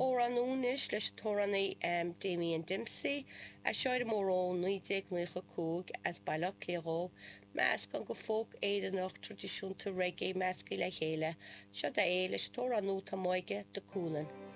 Amhrán nua anois leis an t-amhránaí Damien Dempsey, as seo ar an mór ó 1995 as Baile Átha Cliath dhó, meascán de folk Éireannach traidisiúnta reggae measctha le chéile. Seo é leis an t-amhrán nua atá amuigh aige, The Coolin.